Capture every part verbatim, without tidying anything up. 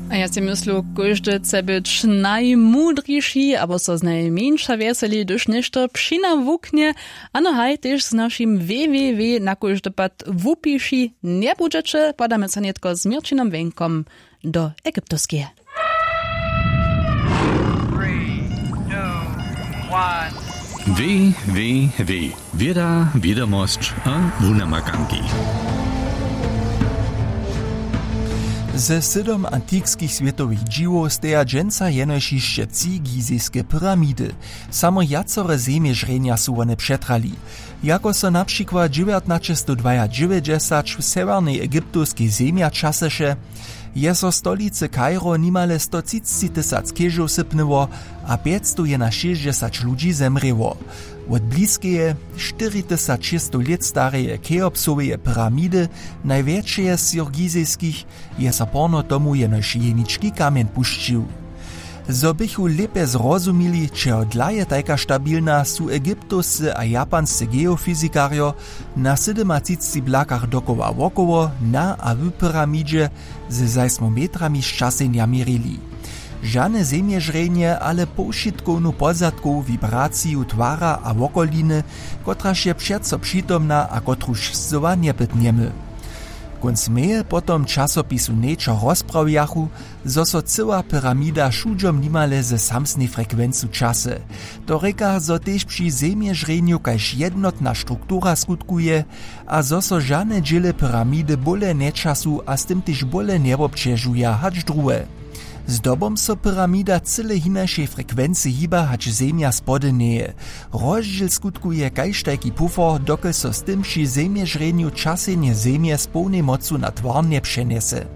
A ja sej myslu, kóždy chce być najmudriši abo so znajmjeńša wjeseli, hdyž něšto přinawuknje. Ano haj, tež z našim www na kóždy pad wupiši njebudźeće. Pładamy so nětko z měrćinom wjenkom do egyptowskeje. Www, wěda, wědomosć a wunamakanki. Ze sydom antikskich swětowych dźiwow steja dźensa jenož hišće tři gizejske pyramidy. Samo wjacore zemježrjenja su wone přetrali. Jako so na přikład dźewjatnaćestowdwajadźewjećdźesać w sewjernej egyptowskej zemja třaseše, je so stolicy kairo nimale stotřicćitysac chěžow sypnyło a pjećstojenašěsćdźesać ludźi zemrěło. Wot bliskeje, štyritysac šěsćstow lět stareje cheopsoweje pyramidy, najwjetšeje z jich gizejskich, je so porno tomu jenož jenički kamjeń pušćił. Zo běchu lěpje zrozumili, čehodla je tajka stabilna, su egyptowscy a japanscy geofyzikarjo na sydomatřicci blakach dokoła wokoło na a w pyramidźe ze zajsmometrami šćasenja měrili. Žane zemježrjenje, ale powšitkownu pozadkowu wibraciju twara a wokoliny, kotraž je přeco přitomna a kotruž scyła njepytnjemy. Kónc meje potom w časopisu Nature rozprawjachu, zo so cyła pyramida wšudźom nimale ze samsnej frekwencu třase. To rěka, zo tež při zemježrjenju kaž jednotna struktura skutkuje a zo so žane dźěle pyramidy bóle njećasu a z tym tež bóle njewobćežuja hač druhe. Zdobom so pyramida cyle hinašej frekwency hiba hač zemja spodyneje. Rozdźěl skutkuje kaž tajki pufor, dokelž so z tym při zemježrjenju třasenje zemje z połnej mocu na twarnje přenjese.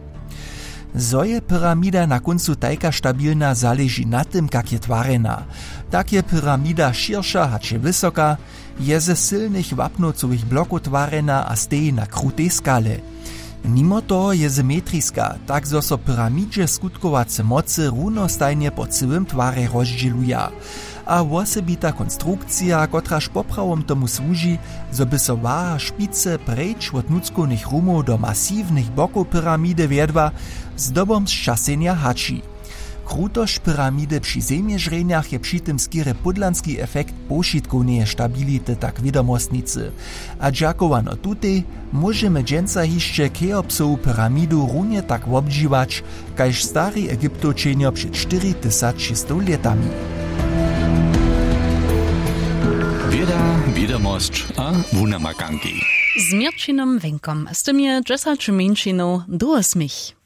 Zo je pyramida na kóncu tajka stabilna, zaleži na tym, kak je twarjena. Tak je pyramida šěrša hač je wysoka, je ze sylnych wapnowcowych blokow twarjena a steji na krutej skale. Nimo toho je symetriska, tak zo so pyramidźe skutkowace mocy runostajnje po cyłym twarje rozdźěluja. A wosebita konstrukcija, kotraž poprawom tomu słuži, zo by so waha špicy preč wot nutřkownych rumow do masiwnych bokow pyramide wjedła, zdobom sćasenja hači. Krutosć pyramide při zemježrjenjach je při tym skerje pódlanski efekt powšitkowneje stability, tak wědomostnicy. A dźakowano tutej móžemy dźensa hišće cheopsowu pyramidu runje tak wobdźiwać kaž stari egyptowčenjo před štyri tysac šěsćstow lětami. Wěda, wědomosć a wunamakanki. Z měrćinom wjenkom, z tym je dźesać mjeńšinow do wosmich.